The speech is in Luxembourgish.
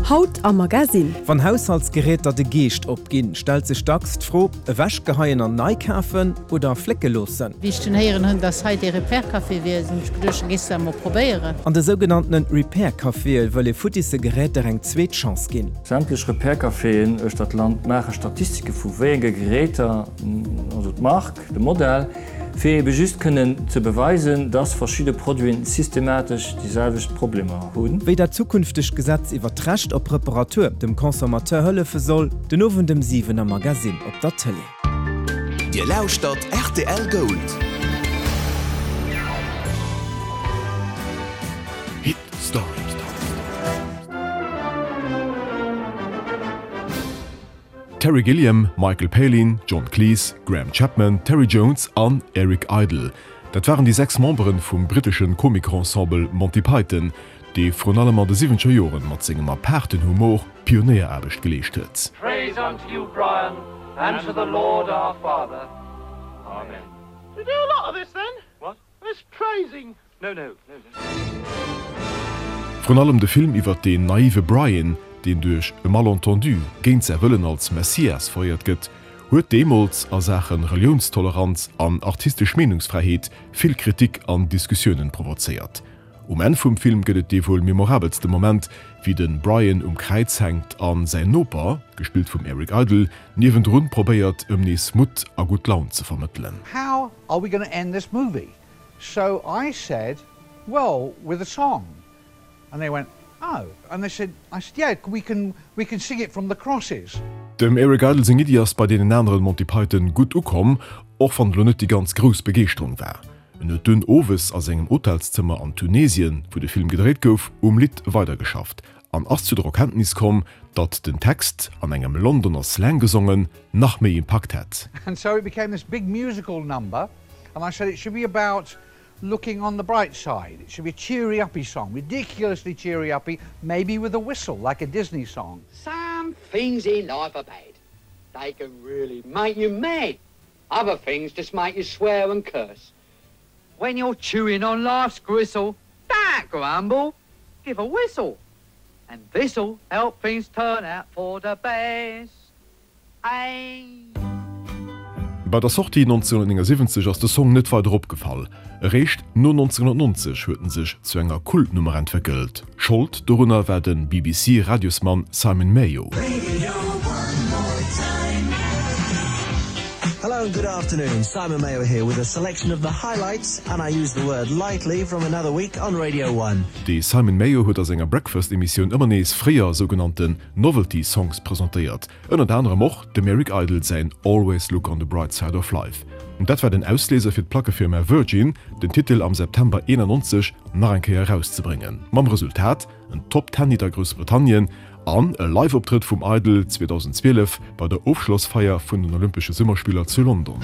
Haut am Magasinn. Wann Haushaltsgeräter de Geescht opginn, stellt sech dacks d'Fro, Ewechgeheien an nei kafen oder flécke loossen? Wéi ech dunn héieren hunn, dass hei dee Repair-Café wier, hunn ech geduecht, da gees de dat emol probéieren. An de sougenanntene Repair-Caféë wëll ee futtisse Geräter eng zweet Chance ginn. Sämtlech Repair-Caféen uechter d'Land maache Statistike vu wéi enge Geräter, also d'Mark, de Modell, fir ebe just kënnen ze beweisen, dass verschidde Produiten systematesch déi selwecht Problemer hunn. Wéi dat zukünftegt Gesetz iwwer d'Recht op Reparatur dem Consommateur hëllefe soll, den Owend ëm 7 am Magasinn op der Tëlee. Dir lauschtert rtl Gold. Hit Story. Terry Gilliam, Michael Palin, John Cleese, Graham Chapman, Terry Jones an Eric Idle, dat waren déi 6 Memberen vum britteschen Komikensemble Monty Python, dee vrun allem an de siwwenzeger Joren mat sengem apaarten Humor Pionéieraarbecht geleescht huet. Praise unto you Brian and to the Lord our Father. Amen. You do a lot of this then? What? This praising? No, no, no, no. Vrun allem de Film iwwer deen naive Brian, deen duerch e Malentendu géint säi Wëllen als Messias veréiert gëtt, huet deemools a Saache Reliounstoleranz an artistesch Meenungsfräiheet vill Kritik an Diskussiounen provozéiert. Um Enn vum Film gëtt et dee wuel memorabelste Moment, wéi de Brian um Kräiz hänkt a säin Noper, gespillt vum Eric Idle, niewendrun probéiert, ëm nees Mutt a gutt Laun ze vermëttelen. How are we gonna end this movie? So I said, well, with a song. And they went, oh. And they said, I said, yeah, we can, we can sing it from the crosses. Dem Eric Idle seng Iddi ass bei deenen aneren Monty Python gutt ukomm, och wann et elo net déi ganz grouss Begeeschterung war. En huet dunn owes a sengem Hotelszëmmer an Tunesien, wou de Film gedréit gouf, um Lidd weidergeschafft an ass zu der Erkenntnis komm, datt den Text, an engem Londoner Slang gesongen, nach méi Impakt hätt. And so it became this big musical number and I said it should be about looking on the bright side. It should be a cheery uppy song, ridiculously cheery uppy, maybe with a whistle like a Disney song. Some things in life are bad. They can really make you mad. Other things just make you swear and curse. When you're chewing on life's gristle, don't grumble, give a whistle. And this'll help things turn out for the best. Ayy. Bei der Sortie 1979 ass de Song net weider opgefall. Eréischt no 1990 huet en sech zu enger Kultnummer entwéckelt. Schold dorunner war de BBC-Radiosmann Simon Mayo. Hello and good afternoon, Simon Mayo here with a selection of the highlights, and I use the word lightly, from another week on Radio One. De Simon Mayo huet a senger Breakfast-Emissioun ëmmer nees fréier sougenannten Novelty Songs presentéiert, ënnert anerem och dem Eric Idle säin Always Look on the Bright Side of Life. Dat war den Ausléiser fir d'Plackefirma Virgin, den Titel am September 91 nach eng Kéier erauszebréngen, mam Resultat, en Top-Ten-Hit a Groussbritannien an e Live-Optrëtt vum Idle 2012 bei der Ofschlossfeier vun den Olympesche Summerspiller zu London.